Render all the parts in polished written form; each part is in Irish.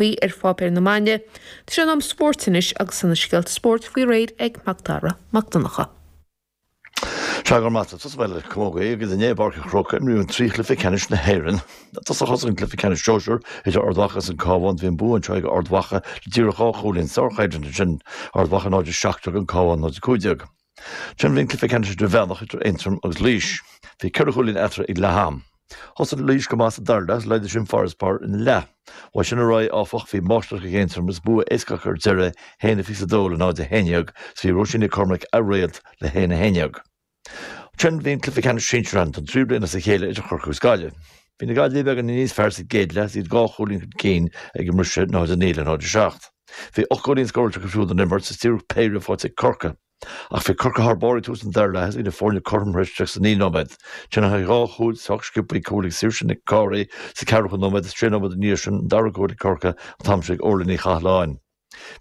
Ar pháipéir na maidine. Tá sé in am spóirt anois agus tá na scéalta spóirt faoi réir ag Macdara Mac Donncha. Sea, go raibh maith agat. Tosóidh mé le camógaí agus inné i bPáirc an Chrócaigh imríodh an trí chluiche ceannais na hÉireann. I dtosach thosaigh an cluiche ceannais sóisear idir Ard Mhacha agus an Cabhán. Bhí an bua anseo ag Ard Mhacha le díreach dhá chúilín. Sárchoimhlint ansin, Ard Mhacha 0-17, an Cabhán 0-15. Ansin bhí an cluiche ceannais idirmheánach idir Aontroim agus Laois. Bhí ceithre chúilín eatarthu ag leath am. Thosaigh Laois go maith sa dara leath agus laghdaigh sin farasbarr ina leath. Uaidh sin ar aghaidh, áfach, bhí máistreacht ag Aontroim agus bua éasca acu ar deireadh, 1-22 le 0-11, is bhí Róisín Nic Cormaic a réalt le 1-11. Ansin bhí an cluiche ceannais sinsir ann don tríú bliain as a chéile idir Chorcaigh agus Gaillimh. Bhí na Gaillimhigh beagáinín níos fearr sa gcéad leath is iad dhá chúilín chun cinn ag an mbriseadh, 0-9 le 0-7. Bhí 8 gcúilín scóráilte acu siúd ón imirt is díreach péire faighte ag Corcaigh. Ach bhí Corcaigh thar barr ag tús an dara leath is bhí na foirne cothrom tar éis 39 nóiméad. Ansin tháinig dhá chúl sách sciobtha, cúl ag Saoirse Nic Cárthaigh sa ceathracha nóiméad is sé nóiméad ina dhiaidh sin an dara cúl ag Corcaigh an t-am sin ag Orla Ní Chathalláin.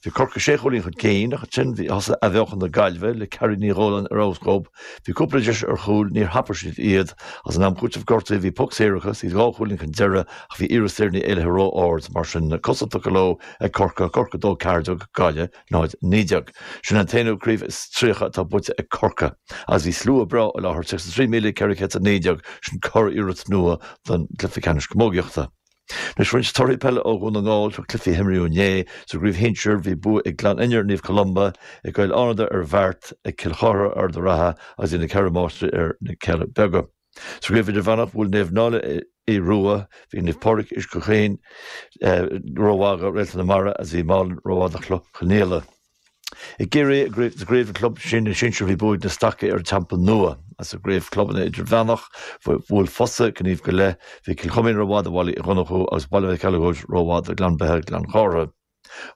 Bhí Corcaigh sé chúilín chun cinn ach ansin bhí thosaigh athbheochan na Gaillimhe le Carrie Ní Dhóláin ar fheabhas dhóibh. Bhí cúpla deis ar chúil, níor thapaigh siad iad. Agus in am cúitimh gortaithe bhí poc saor acu is iad dhá chúilín chun deireadh ach bhí iarracht Saoire Ní Éalaithe ró-ard. Mar sin cosa tugtha leo ag Corcaigh, Corcaigh 2 14, Gaillimh 0, 19. Sin an t-aonú craobh is 30 atá buaite ag Corcaigh. Agus bhí slua breá i láthair, 33,419, sin curiarracht nua don gcluiche ceannais camógaíochta. Anois roinnt torthaí peile ó Dhún na nGall, seo cluichí a himríodh inné. Sa gcraobh shinsir, bhí bua ag Gleann Fhinne ar Naomh Columba, ag Gaeil Fhánada ar Bheart, ag Cill Chartha ar Ard an Rátha agus bhí na Ceathrú Máistrí ar na Cealla Beaga. Sa gcraobh idirmheánach, bhuail Naomh Náille Aodh Rua, bhí Naomh Pádraig Uisce Chaoin rómhaith do Réalta na Mara agus bhí Málainn rómhaith do Chloich Chionnaola. I gCiarraí, sa gcraobh club sinsir, bhí bua ag na Stacaigh ar an Teampall Nua. Agus sa gcraobh clubanna idirmheánach, bhuail Fosa, Gníomh go leith, bhí Cill Choimín rómhaith do Bhaile Uí Dhonnchú agus Baile Mhic Eileagóid rómhaith do Ghleann Beithe Gleann Chártha.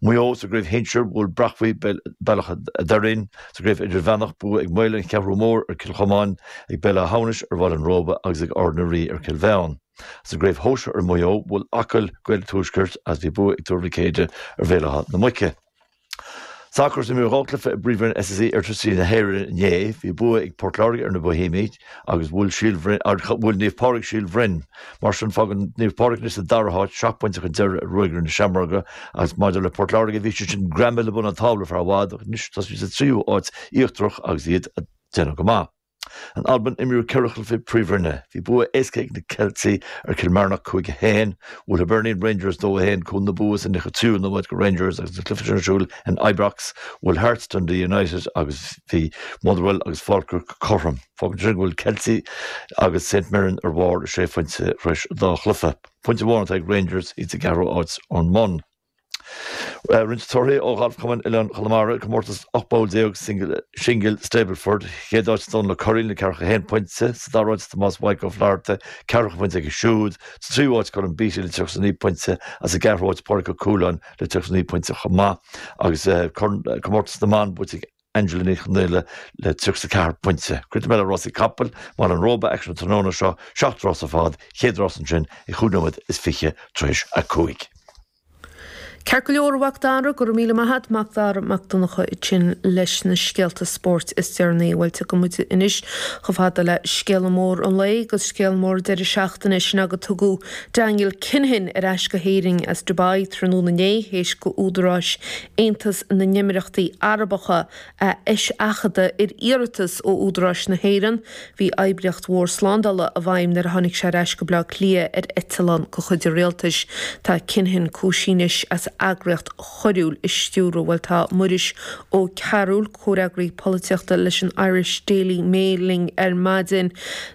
Maigh Eo, Sa gcraobh shinsir, bhuail Brachbhuí Bealach a' Doirín. Sa gcraobh idirmheánach, bua ag Maoil an Cheathrú Mór ar Cill Chomáin, ag Béal Átha hAmhnais ar Bhaile an Róba agus ag Ard na Rí ar Cill Mheáin. Sa gcraobh shóisir i Maigh Eo, bhuail Acaill Gaeil an Tuaiscirt agus bhí bua ag Tuar Mhic Éide ar Bhéal Átha na Muice. Sacar, Imríodh dhá chluiche i bPríomhroinn SSE Airtricity na hÉireann inné. Bhí bua ag Port Láirge ar na Boihéimigh agus bhuail Síol Bhroin, bhuail Naomh Pádraig Síol Bhroin. Mar sin, fágann Naomh Pádraig anois sa dara háit, seacht bpointe chun deiridh ar Ruagairí na Seamróige agus maidir le Port Láirge, bhí siad sin greamaithe le bun an tábla ar feadh i bhfad ach anois tá siad sa tríú háit íochtarach agus iad ag déanamh go maith. In Albain, imríodh ceithre chluiche Príomhroinne. Bhí bua éasca ag na Ceiltigh ar Chill Marnock 5, 1. Bhuail Hibernian Rangers 2, 1. Cúl na bua sa 93ú nóiméad do Rangers agus an cluiche sin ar siúl in Ibrox. Bhuail Hearts Dundee United agus bhí Motherwell agus Falkirk cothrom. Fágann sin go bhfuil Ceiltigh agus St Mirren ar bharr sé phointe tar éis an dá chluiche. Pointe amháin atá ag Rangers, iad sa gceathrú háit ón mbun. Roinnt torthaí ó Ghalf Chumann Oileán Chonamara, comórtas 18 bpoll singil Stableford, chéad áit Dónal Ó Curraoin le 41 pointe, sa dara háit Tomás Mhaidhc Ó Flatharta, ceathracha pointe aige siúd, sa tríú háit Colm Beattie le 39 pointe agus sa gceathrú háit Pádraig Ó Cualáin le 39 pointe chomh maith agus comórtas na mban buaite ag Angela Ní Chonaola le 34 pointe. Críochnóidh mé le rásaí capaill, Baile an Róba, aicsean an tráthnóna seo, seacht rás ar fad, chéad rás ansin ag chúig nóiméad is fiche tar éis a cúig. Ceart go leor, a Mhac Dara, go raibh míle maith a't, Mac Dara Mac Donncha ansin leis na scéalta spóirt is deireanaí. Bhuel, tiocfaidh muid anois chomh fada le scéala mór an lae agus scéal mór deireadh seachtaine, sin gur tugadh Daniel Kinahan ar ais go hÉirinn as Dubai tráthnóna inné, théis go údaráis Aontas na nÉimíríochtaí Arabacha a eiseachadadh ar iarratas ó údaráis na hÉireann. Bhí oibríocht mhór slándála i bhfeidhm nuair a tháinig sé ar ais go Baile Átha Cliath ar eitleán de chuid an rialtais. Tá Kinahan cúisithe anois as eagraíocht choiriúil a stiúradh. Bhuel tá Muiris Ó Cearúil, comhfhreagraí polaitíochta leis an Irish Daily Mail linn ar maidin.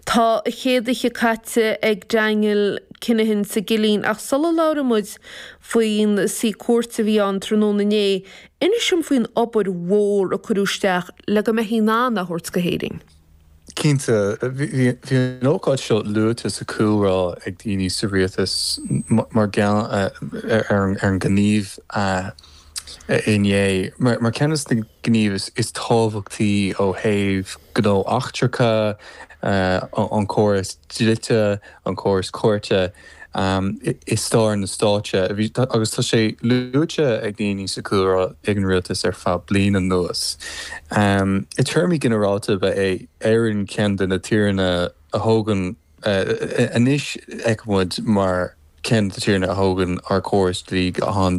Tá a chéad oíche caite ag Daniel Kinahan sa gcillín ach sula labhraíonn muid faoin suí cúirte a bhí ann tráthnóna inné, inis dom faoin obair mhór a cuireadh isteach le go mbeifí in ann é a thabhairt go hÉirinn. Cinnte, bhí an ócáid seo luaite sa chúlra ag daoine sa rialtas mar gheall ar an ngníomh inné, mar ceann de na gníomh is tábhachtaí ó thaobh gnó eachtracha, an córas dlite, an córas cúirte. i stair na stáite, agus tá sé luaite ag daoine sa chúlra ag an rialtas ar feadh bliain anuas. I téarmaí ginearálta, ba é Éirinn ceann de na tíreanna a thógann anois fheiceann muid mar. ceann de na tíortha a thógann ár córas dlí go han-.